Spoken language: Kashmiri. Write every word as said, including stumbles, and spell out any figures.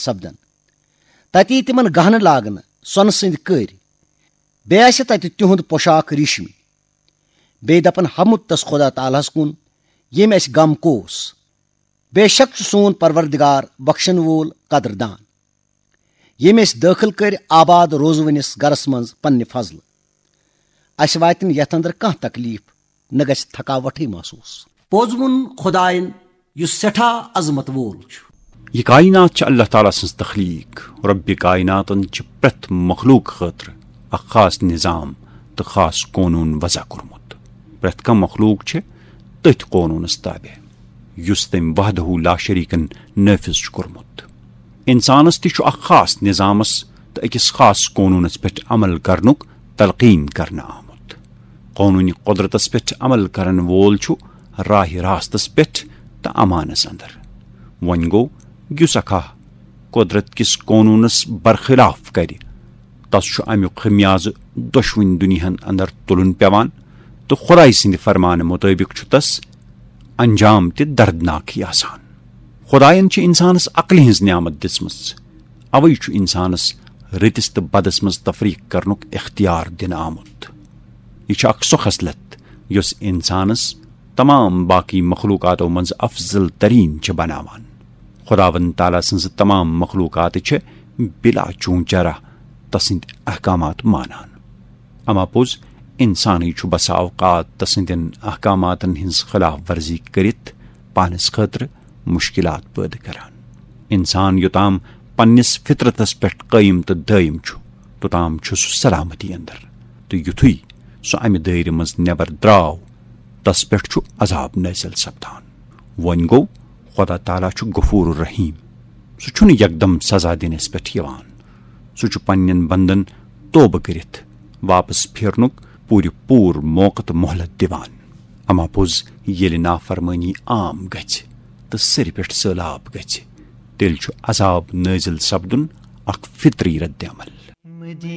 سپدن۔ تتہِ یی تِمن گہنہٕ لاگنہٕ، سۄنہٕ سٕنٛدۍ کٔرۍ۔ بیٚیہِ آسہِ تتہِ تِہُنٛد پوشاک ریشمی۔ بیٚیہِ دپن ہمُت تس خدا تعالیٰ ہس کُن، ییٚمۍ اسہِ غم کوس۔ بے شک چھُ سون پروردگار بخشن وول، قدر دان، ییٚمۍ اسہِ دٲخل کٔرۍ آباد روزوٕنِس گرس منٛز پننہِ فضلہٕ۔ اسہِ واتہِ نہٕ یتھ اندر کانٛہہ تکلیف، نہ گژھِ تھکاوٹھٕے محسوس۔ پوٚز ووٚن خداین، یُس سٮ۪ٹھاہ عظمت وول چھُ۔ یہ کائنات چھِ اللہ تعالیٰ سٕنٛز تخلیق۔ رب کائناتن چھِ پرٛٮ۪تھ مخلوق خٲطرٕ اکھ خاص نظام تہٕ خاص قونوٗن وضع کوٚرمُت۔ پرٛٮ۪تھ کانٛہہ مخلوق چھِ تٔتھۍ قونوٗنس تابع، یُس تٔمۍ وحدہ لا شریکن نافذ چھُ کوٚرمُت۔ انسانس تہِ چھُ اکھ خاص نظامس تہٕ أکِس خاص قونوٗنس پٮ۪ٹھ عمل کرنُک تلقین کرنہٕ آمُت۔ قونوٗنی قدرتس پٮ۪ٹھ عمل کرن وول چھُ راہ راستس پٮ۪ٹھ تہٕ امانس اندر۔ وۄنۍ گوٚو، یُس اکھاہ قدرت کِس قونوٗنس برخلاف کرِ، تس چھُ امیُک خمیازٕ دۄشوٕنۍ دُنیاہن اندر تُلُن پٮ۪وان، تہٕ خدایہِ سٕنٛدِ فرمانہٕ مُطٲبِق چھُ تس انجام تہِ دردناکٕے آسان۔ خدایَن چھِ انسانس عقلہِ ہٕنٛز نعمت دِژمٕژ، اوے چھُ انسانس رٕتِس تہٕ بدس منٛز تفریق کرنُک اختیار دِنہٕ آمُت۔ یہِ چھِ اکھ سۄ خصلت، یۄس انسانس تمام باقی مخلوقاتو منٛز افضل ترین چھِ بناوان۔ خداوند تعالیٰ سٕنٛزٕ تمام مخلوقات چھِ بلا چون چرہ تسٕنٛدۍ احکامات مانان۔ اما پوٚز، انسانٕے چھُ بسا اوقات تسٕنٛدٮ۪ن احکاماتن ہٕنٛز خلاف ورزی کٔرِتھ پانس خٲطرٕ مشکلات پٲدٕ کران۔ انسان یوٚتام پننِس فطرتس پٮ۪ٹھ قٲیِم تہٕ دٲیِم چھُ، توٚتام چھُ سُہ سلامتی اندر، تہٕ یُتھُے سُہ امہِ دٲیرٕ منٛز نٮ۪بر درٛاو، تس پٮ۪ٹھ چھُ عذاب نٲزِل سپدان۔ وۄنۍ گوٚو، خدا تعالیٰ چھُ غفور الرحیم۔ سُہ چھُنہٕ یکدم سزا دِنس پٮ۪ٹھ یِوان۔ سُہ چھُ پننٮ۪ن بندن توبہٕ کٔرِتھ واپس پھیرنُک پوٗرٕ پوٗرٕ موقعہٕ تہٕ مۄہلت دِوان۔ اما پوٚز، ییٚلہِ نافرمٲنی عام گژھِ تہٕ سرِ پٮ۪ٹھ سٔہلاب گژھِ، تیٚلہِ چھُ عذاب نٲزِل سپدُن اکھ فطری رد عمل۔